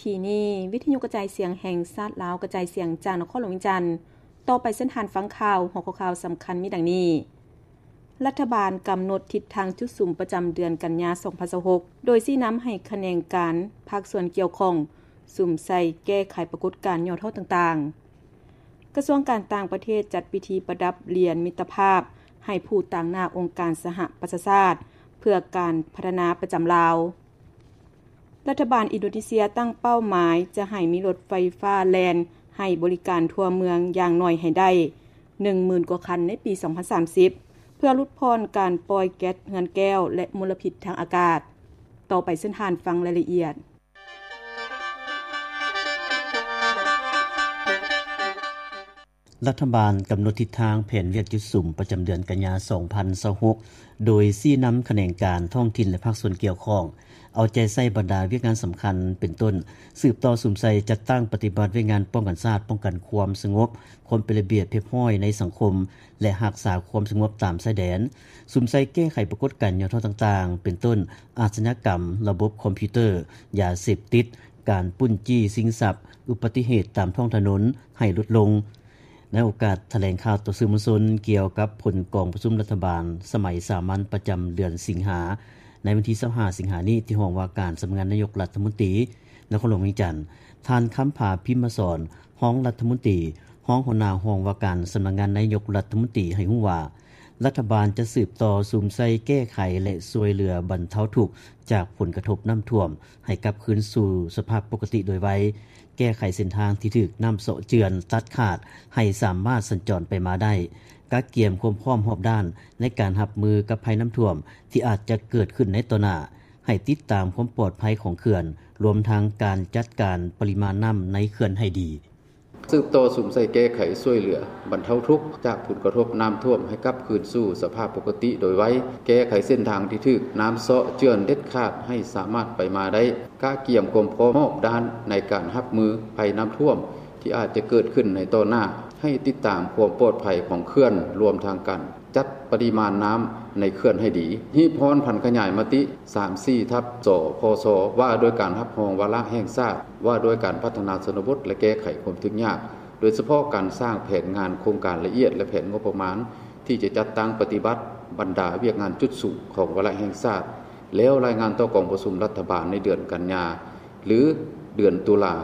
ທີ່ນີ້ ວິທະຍຸກະຈາຍສຽງແຫ່ງຊາດລາວ ກະຈາຍສຽງຈາກນະຄອນຫຼວງວຽງຈັນ. ຕໍ່ໄປເຊີນທ່ານຟັງຂ່າວ. ຫົວຂໍ້ຂ່າວສຳຄັນມີດັ່ງນີ້: ລັດຖະບານກຳນົດທິດທາງຈຸດສຸມປະຈຳເດືອນກັນຍາ ສອງພັນຊາວຫົກ ໂດຍຊີ້ນຳໃຫ້ຂະແໜງການພາກສ່ວນກ່ຽວຂ້ອງສຸມໃສ່ແກ້ໄຂປາກົດການຫຍໍ້ທໍ້ຕ່າງໆ. ກະຊວງການຕ່າງປະເທດຈັດພິທີປະດັບຫຼຽນມິດຕະພາບໃຫ້ຜູ້ຕາງໜ້າອົງການສະຫະປະຊາຊາດ ເພື່ອການພັດທະນາປະຈຳລາວ. ລັດຖະບານອິນໂດເນເຊຍຕັ້ງເປົ້າໝາຍຈະໃຫ້ມີລົດໄຟຟ້າແລ່ນໃຫ້ບໍລິການທົ່ວເມືອງຢ່າງໜ້ອຍໃຫ້ໄດ້ ໜຶ່ງໝື່ນກວ່າຄັນໃນປີ ສອງພັນສາມສິບ ເພື່ອຫຼຸດຜ່ອນການປ່ອຍແກັສເຮືອນແກ້ວ ແລະ ມົນລະພິດທາງອາກາດ. ຕໍ່ໄປເຊີນທ່ານຟັງລາຍລະອຽດ. ລັດຖະບານກຳນົດທິດທາງແຜນວຽກຈຸດສຸມປະຈຳເດືອນກັນຍາ ສອງພັນຊາວຫົກ ໂດຍຊີ້ນຳຂະແໜງການທ້ອງຖິ່ນ ແລະ ພາກສ່ວນກ່ຽວຂ້ອງ ເອົາໃຈໃສ່ບັນດາວຽກງານສຳຄັນ ເປັນຕົ້ນ ສືບຕໍ່ສຸມໃສ່ຈັດຕັ້ງປະຕິບັດວຽກງານປ້ອງກັນຊາດ, ປ້ອງກັນຄວາມສະຫງົບ, ຄວາມເປັນລະບຽບຮຽບຮ້ອຍໃນສັງຄົມ ແລະ ຮັກສາຄວາມສະຫງົບຕາມຊາຍແດນ, ສຸມໃສ່ແກ້ໄຂປາກົດການຫຍໍ້ທໍ້ຕ່າງໆ ເປັນຕົ້ນ ອາຊະຍາກຳ, ລະບົບຄອມພິວເຕີ, ຢາເສບຕິດ, ການປຸ້ນຈີ້ຊິງຊັບ, ອຸບັດຕິເຫດຕາມທ້ອງຖະໜົນໃຫ້ຫຼຸດລົງ. ໃນໂອກາດຖະແຫຼງຂ່າວຕໍ່ສື່ມວນຊົນກ່ຽວກັບຜົນກອງປະຊຸມລັດຖະບານສະໄໝສາມັນປະຈຳເດືອນສິງຫາ ໃນວັນທີ ຊາວຫ້າ ສິງຫານີ້ ທີ່ຫ້ອງວ່າການສຳນັກງານນາຍົກລັດຖະມົນຕີ ນະຄອນຫຼວງວຽງຈັນ, ທ່ານ ຄຳຜາ ພິມມະສອນ ຮອງລັດຖະມົນຕີ, ຮອງຫົວໜ້າຫ້ອງວ່າການສຳນັກງານນາຍົກລັດຖະມົນຕີ ໃຫ້ຮູ້ວ່າ ລັດຖະບານຈະສືບຕໍ່ສຸມໃສ່ແກ້ໄຂ ແລະ ຊ່ວຍເຫຼືອບັນເທົາທຸກຈາກຜົນກະທົບນ້ຳຖ້ວມ ໃຫ້ກັບຄືນສູ່ສະພາບປົກກະຕິໂດຍໄວ, ແກ້ໄຂເສັ້ນທາງທີ່ຖືກນ້ຳເຊາະເຈື່ອນຕັດຂາດໃຫ້ສາມາດສັນຈອນໄປມາໄດ້, ກະກຽມຄວາມພ້ອມຮອບດ້ານໃນການຮັບມືກັບໄພນ້ຳຖ້ວມທີ່ອາດຈະເກີດຂຶ້ນໃນຕໍ່ໜ້າ, ໃຫ້ຕິດຕາມຄວາມປອດໄພຂອງເຂື່ອນ, ລວມທັງການຈັດການປະລິມານນ້ຳໃນເຂື່ອນໃຫ້ດີ. ສືບຕໍ່ສຸມໃສ່ແກ້ໄຂຊ່ວຍເຫຼືອບັນເທົາທຸກຈາກຜົນກະທົບນ້ຳຖ້ວມໃຫ້ກັບຄືນສູ່ສະພາບປົກກະຕິໂດຍໄວ, ແກ້ໄຂເສັ້ນທາງທີ່ຖືກນ້ຳເຊາະເຈື່ອນເດັດຂາດໃຫ້ສາມາດໄປມາໄດ້, ກະກຽມຄວາມພ້ອມຮອບດ້ານໃນການຮັບມືໄພນ້ຳຖ້ວມທີ່ອາດຈະເກີດຂຶ້ນໃນຕໍ່ໜ້າ, ໃຫ້ຕິດຕາມຄວາມປອດໄພຂອງເຂື່ອນ, ລວມທັງການ ຈັດປະລິມານນ້ຳໃນເຂື່ອນໃຫ້ດີ, ຮີບຮ້ອນຜັນຂະຫຍາຍມະຕິ ສາມສີ່ ທັບ ສພສ ວ່າດ້ວຍການຮັບຮອງວາລະແຫ່ງຊາດ ວ່າດ້ວຍການພັດທະນາຊົນນະບົດ ແລະ ແກ້ໄຂຄວາມທຸກຍາກ, ໂດຍສະເພາະການສ້າງແຜນງານໂຄງການລະອຽດ ແລະ ແຜນງົບປະມານທີ່ຈະຈັດຕັ້ງປະຕິບັດບັນດາວຽກງານຈຸດສຸມຂອງວາລະແຫ່ງຊາດ, ແລ້ວລາຍງານຕໍ່ກອງປະຊຸມລັດຖະບານໃນເດືອນກັນຍາ ຫຼື ເດືອນຕຸລາ